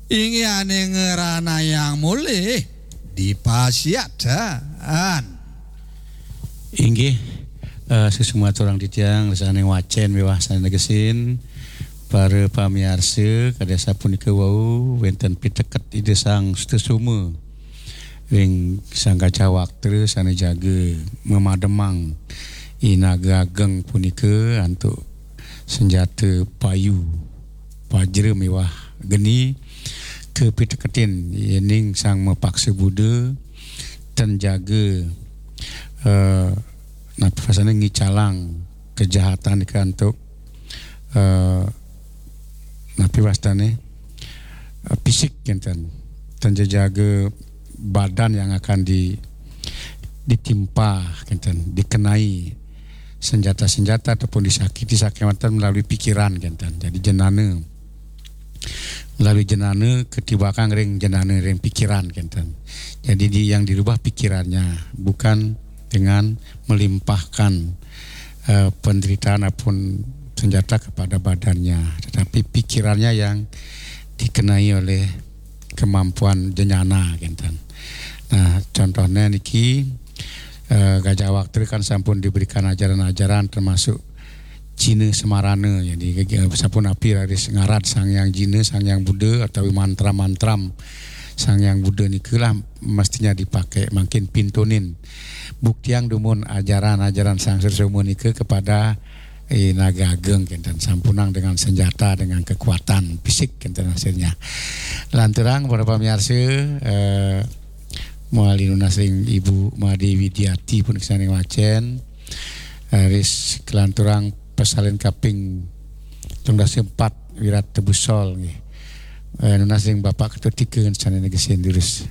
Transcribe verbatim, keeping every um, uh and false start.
Inggih ane ngranayang mulih dipasiatan. Inggih, eh, sesama aturang titiang, sane ngwacen miwah sane negesin, para pamiarsa, kadi sapunika wau wenten piteket Ida Sang Sutasoma ring Sang Gajah Waktra sane jaga mamademang I Naga Ageng punika antuk senjata payu, pajra miwah geni kapiteketin yening Sang Mapaksa Buddha ten jaga, eh, napi wastane ngicalang kejahatan nika antuk, eh, napi wastane, eh, fisik kenten. Ten jaga badan yang akan di, ditimpa kenten, dikenai senjata-senjata ataupun disakiti sakewanten melalui pikiran kenten. Jadi jenana, melalui jenana katibakang ring jenana ring pikiran kenten. Jadi di, yang dirubah pikirannya, bukan dengan melimpahkan, eh, penderitaan ataupun senjata kepada badannya, tetapi pikirannya yang dikenai oleh kemampuan jenana kenten. Nah, contohnya niki, eh, Gajah Waktra kan sampun diberikan ajaran-ajaran termasuk Jina Semarana. Jadi, sapunapi raris ngarad Sang Hyang Jina, Sang Hyang Buddha, utawi mantra-mantram Sang Hyang Buddha nika lah mestinya dipakai, mangkin pintonin. Buktiang dumun ajaran-ajaran Sang Sutasoma nika kepada I Naga Ageng kenten, sampunang dengan senjata, dengan kekuatan fisik kenten hasilnya. Lanturang para pamiarsa, eh, mawali nunas ring Ibu Made Widiati punika sane ngwacen, eh, ris kalanturang pasalin kaping telung dasa empat Wirat Tebusol nggih. Eh, nunas ring Bapak Ketut Tika sane negesin durus.